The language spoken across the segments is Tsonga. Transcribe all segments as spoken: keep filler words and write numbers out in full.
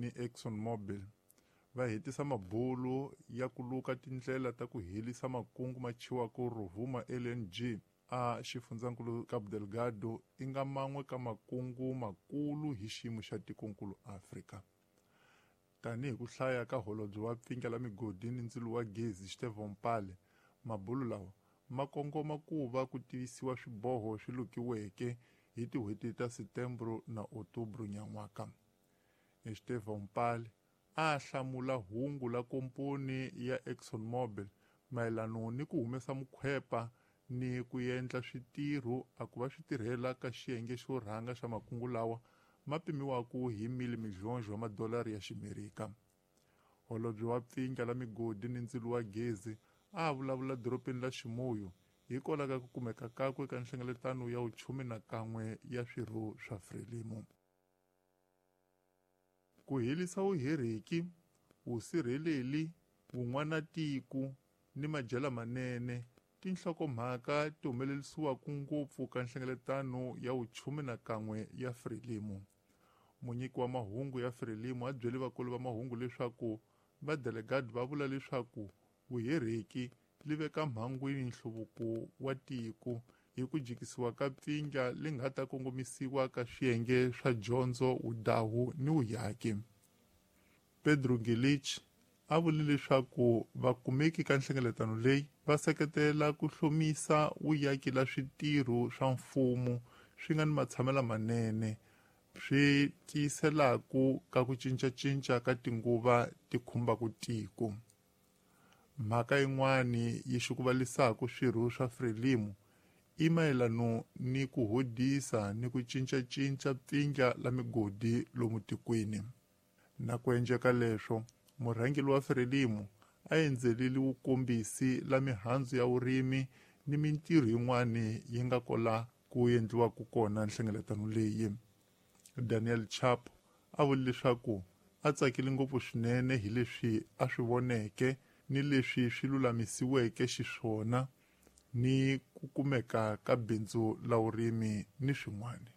ni ExxonMobil va hetisa mabulu ya ku luka tindlela ta ku helisa makungu ma chiwaka Rovuma L N G a xifundzankulu Cabo Delgado i nga man'we ka makungu makulu hi xiyimo xa tikonkulu Afrika. Tanihi ku hlaya ka holobye wa pfinga la migodi ni ndzilo wa gezi Estevão Pale, mabulu lawa ma kongoma ku va ku tivisiwa swiboho swi lukiweke hi tin'hweti ta Setembro na Outubro nyan'waka. Estevão Pale a hlamula hungu la komponi ya ExxonMobil mayelana ni ku humesa mukhwepa ni ku endla switirho a ku va swi tirhela ka xiyenge xo rhanga xa makungu lawa ma pimiwaka hi mil milhões wa madolari ya ximerika. Holobye wa pfinga la migodi ni ndzilo wa gezi a vulavula doropeni la Chimoio hikwalaho ka ku kumeka kakwe ka nhlengeletano ya vuchume na kan'we ya swirho swa Frelimo. Ku helisa vuheriki, vusirheleli, vun'wanatiko ni madyela manene tinhlokomhaka ti humelerisiwaka ngopfu ka nhlengeletano ya vuchume na kan'we ya Frelimo. Munyiki wa mahungu ya Frelimo a byele vakulu va mahungu leswaku va delegate va vula leswaku vuheriki li veka mhangwini nhluvuko wa tiko hi ku jikisiwa ka pfinga li nga ta kongomisiwa ka swiyenge swa dyondzo, vudahu ni vuyaki. Pedro Gilich a vule leswaku vakumeki ka nhlengeletano leyi va seketela ku hlomisa vuyaki la switirho swa mfumo swi nga ni matshamelo manene swi tiyiselaku ka ku cincacinca ka tinguva ti khumbaka tiko. Mhaka yin'wani yi xukuvalisaka swirho swa Frelimo i mayelana ni ku hodisa ni ku cincacinca pfinga la migodi lomu tikweni. Na ku endleka leswo, murhangeri wa Frelimo a endzelile vukombisi la mihandzu ya vurimi ni mintirho yin'wani yi nga kola ku endliwaka kona nhlengeletano leyi. Daniel Chapo a vule leswaku a tsakile ngopfu swinene hi leswi a swi voneke ni leswi swi lulamisiweke xiswona ni ku kumeka ka bindzu la vurimi ni swin'wana.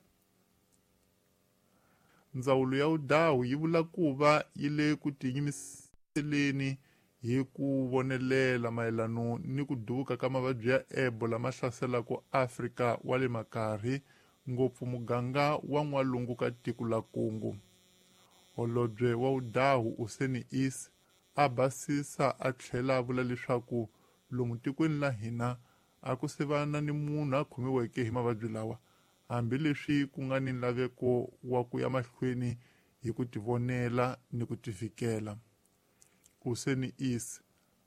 Ndzawulo ya vudahu yi vula ku va yi le ku tiyimiseleni hi ku vonelela mayelana ni ku duvuka ka mavabyi ya Ebola lama hlaselaka Afrika wa le makarhi, ngopfu muganga wa n'walungu ka tiko la Congo. Holobye wa vudahu Useni Is a basisa a tlhela a vula leswaku lomu tikweni la hina a ku se va na ni munhu a khomiweke hi mavabyi lawa, hambileswi ku nga ni nlaveko wa ku ya mahlweni hi ku tivonela ni ku tivikela. Useni Is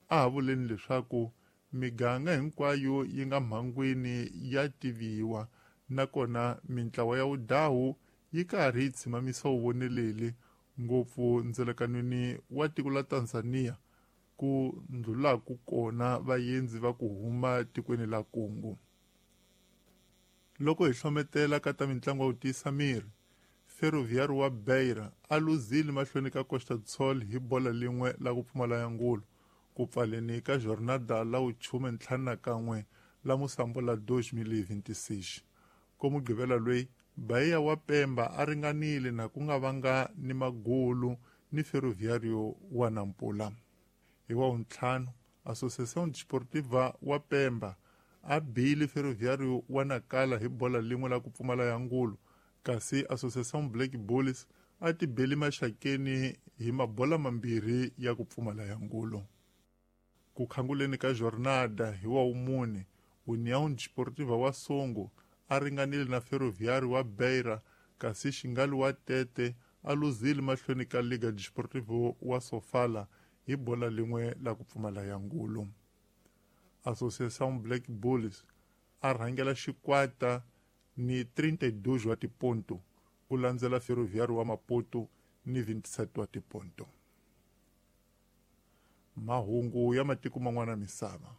a ha vuleni leswaku miganga hinkwayo yi nga mhangwini ya tiviwa, nakona mintlawa ya vudahu yi karhi yi tshimamisa vuvoneleli ngopfu ndzelekanweni wa tiko la Tanzania ku ndlulaku kona vaendzi va ku huma tikweni la Congo. Loko hi hlometela ka ta mitlangu ya ku tiyisa miri, Ferroviário wa Beira a luzile mahlweni ka Costa do Sol hi bola lin'we la ku pfumala ya ngulu ku pfaleni ka jornada la vuchume ntlhanu na kan'we la musambo la dois mil e vinte e seis. Ko Mugqivela loyi Bahia wa Pemba a ringanile na ku nga vanga ni magulu ni Ferroviário wa Nampula. Hi wa vuntlhanu, Associação Desportiva wa Pemba a bile Ferroviário wa Nacala hi bola lin'we la ku pfumala ya ngulu, kasi Associação Black Bulls a ti beli maxakeni hi mabola mambirhi ya ku pfumala ya ngulu. Ku khanguleni ka jornada hi wa vumune, União Desportiva wa Songo a ringanile na Ferroviário wa Beira, kasi Xingali wa Tete a luzile mahlweni ka Liga Desportivo wa Sofala hi bola lin'we la ku pfumala ya ngulu. Associação Black Bulls a rhangela xikwata ni trinta e dois wa tiponto, ku landzela Ferroviário wa Maputo ni vinte e sete wa tiponto. Mahungu ya matiko man'wana misava.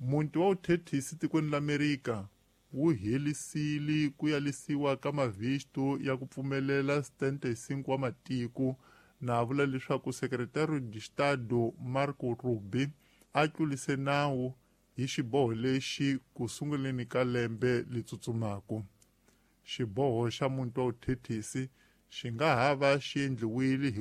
Muti wa vuthethisi tikweni la Amerika wu helisile ku yalisiwa ka mavisto ya ku pfumelela setenta e cinco wa matiko, na vula leswaku Secretario de Estado Marco Rubio a tlulise nawu hi xiboho lexi ku sunguleni ka lembe li tsutsumaka. Xiboho xa muti wa vuthethisi xi nga ha va xi endliwile hi